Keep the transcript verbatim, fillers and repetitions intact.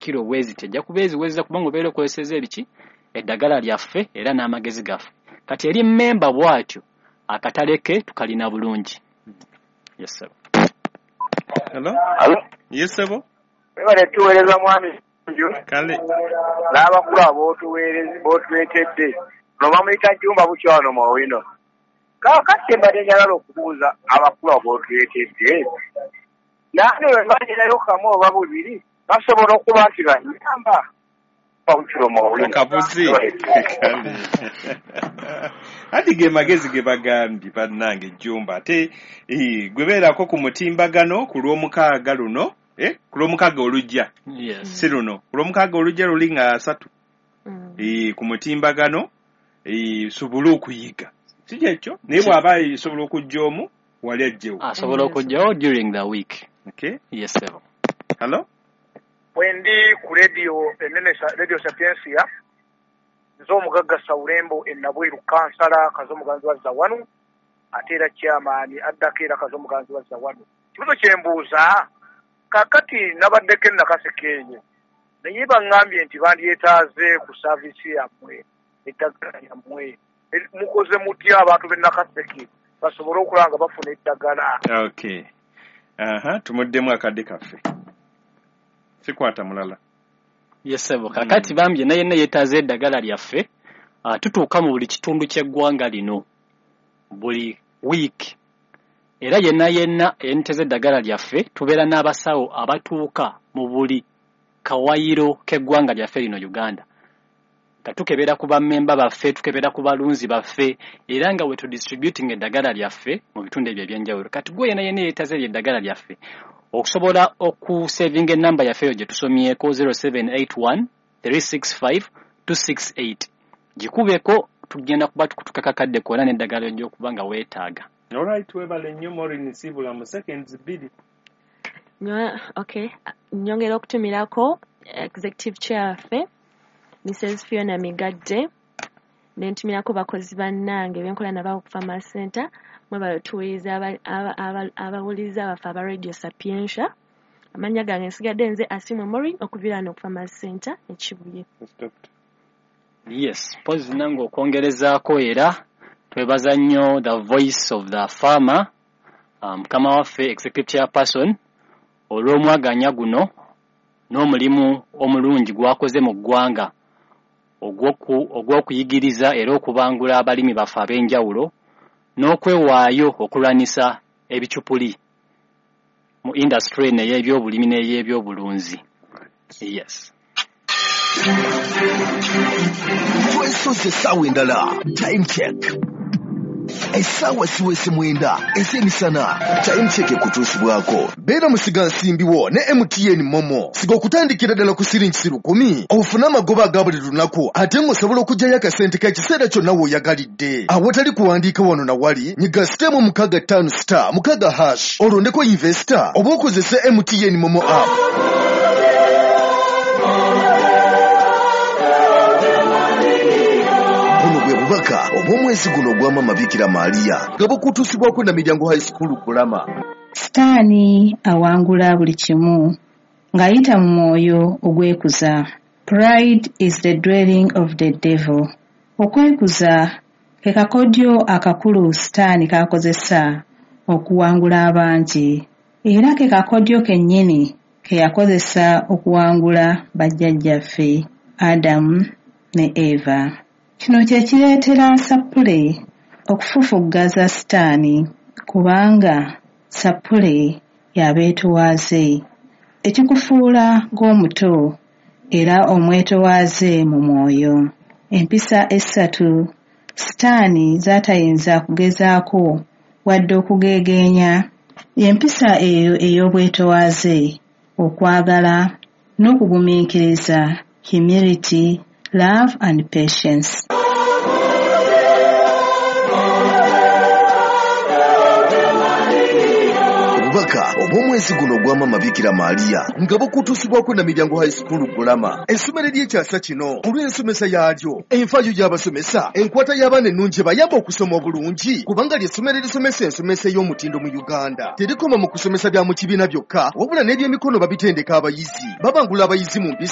kiro bweziti, ejja kuba eziweza kubanga obeera okozeseza ebiki eddagala lyaffe era n'amagezi gaffe. Kati eri memba bw'atyo akatale ke tukalina bulungi. Yes sir. Hello? Hello? Yes sir. Webale tuweereza mwami Kale. N'abakulu ab'otuweereza b'otuleetedde. Ono bamuyita Jumba Bukyano Mawino. Kaakati mbadde njagala okubuuza abakulu ab'otuleetedde. Nange bwe mbalirayo kamu oba bubiri basobola okuba nti bannyamba. Akabuzi. Ati ge magezi ge bagambye bannange Jumba ate eh, gwe beerako ku mutimbagano ku lw'omukaaga luno eh, ku lw'omukaaga olujja. Yes. Si luno, ku lw'omukaaga olujja luli nga asatu. Mm. Eh, ku mutimbagano eh, sobole okuyiga. Si kyekyo? Naye bw'aba esobola okujja omu wali ajjewo. Asobola okujjawo during the week. Okay. Yes sir. Hello? Wendi ku radio enene Radio Sapientia nze omugagga Saulembo e Nabweru kansala Kazomuganzi wa Zawanu ate era chairman addako era Kazomuganzi wa Zawanu. Kibuzo kye mbuuza kaakati nabaddeko e Nakaseke eyo naye baŋŋambye nti bandyetaaze ku service yammwe eddagala lyammwe mukoze mutya abantu b'e Nakaseke basobole okulaba nga bafuna eddagala. Okay. Aha, tumuddemu akadde kaffe. Sikwata mulala. Yes sir. Kakati bambye naye naye yeetaaze eddagala lyaffe uh, tutuuka mu buli kitundu ky'eggwanga lino buli week era yenna yenna eyenteze eddagala lyaffe tubeera n'abasawo abatuuka mu buli kawayiro k'eggwanga lyaffe lino Uganda nga tukebera ku bammemba baffe, tukebera ku balunzi baffe era nga we tu distributing eddagala lyaffe mu bitundu ebyo ebyenjawulo. Kati gwe yenna yenna yeetaaze eryo eddagala lyaffe okusobola okusavinga enamba yaffe eyo gye tusomyeko zero seven eight one three six five two six eight gikubeko tugenda kuba tukutukako akadde konna n'eddagala ery'okuba nga weetaaga. Alright, webale nnyo Maureen Sibula mu seconds bbiri. Nyo, okay. Nyongera okutumirako executive chair waffe Missus Fiona Migadde ne ntumirako bakozi bannange benkola nabo ku Farmers Center mwebale tuwuliriza abawuliriza baffe aba Radio Sapientia. Amannya gange nsigadde nze Asimwe Maureen okuviira wano ku Farmers Center e Kibuye. Yes, mpozi nange okwongerezaako era twebaza nnyo the voice of the farmer mukama um, waffe executive chairperson olw'omwaganya guno n'omulimu omulungi gwakoze mu ggwanga ogw'okuyigiriza era okubangula abalimi baffe ab'enjawulo n'okwewaayo okulwanisa ebicupuli mu industry eno ey'ebyobulimi n'ey'ebyobulunzi. Yes. Twesoze essaawa endala. Time check. Essaawa siwese mwenda ez'emisana. Time check ekutuusibwako. Beera musigansimbi wo ne M T N Momo. Siga okutandikira ddala ku siringi lukumi. Ofune amagoba aga buli lunaku ate ng'osobola okuggyayo akasente k'ekiseera kyonna w'oyagalidde. Awatali kuwandiika wano na wali, nyiga sitemu mukaaga ttaano star mukaaga hash olondeko investor oba okozese M T N Momo app. Bubaka obw'omwezi guno ogwa Mama Bikira Maria nga bukutuusibwako na Miryango High School Kulama. Sitaani awangula buli kimu ng'ayita mu mwoyo ogwekuza. Pride is the dwelling of the devil. Okwekuza ke kakodyo akakulu Sitaani k'akozesa okuwangula abangi era ke kakodyo kennyini ke yakozesa okuwangula bajjajjaffe Adamu ne Eva. Kino kye kireetera Sapule okufufuggaza Sitaani kubanga Sapule y'abeetowaaze ekikufuula ng'omuto era omwetowaaze mu mwoyo. Empisa essatu Sitaani z'atayinza kugezaako wadde okugeegeenya y'empisa eyo ey'obwetowaaze, okwagala n'okugumiikiriza, humility, love and patience. Obubaka obw'omwezi guno ogwa Mama Bikira Maria nga bukutuusibwako na Miryango High School Kulama. Essomero ly'ekyasa kino olw'ensomesa yaalyo, enfaayo y'abasomesa, enkwata y'abaana ennungi ebayamba okusoma obulungi kubanga ly'essomero erisomesa ensomesa ey'omutindo mu Uganda. Terikoma mu kusomesa bya mu kibiina byokka wabula n'ebyemikono babitendeka abayizi. Babangula abayizi mu mpisa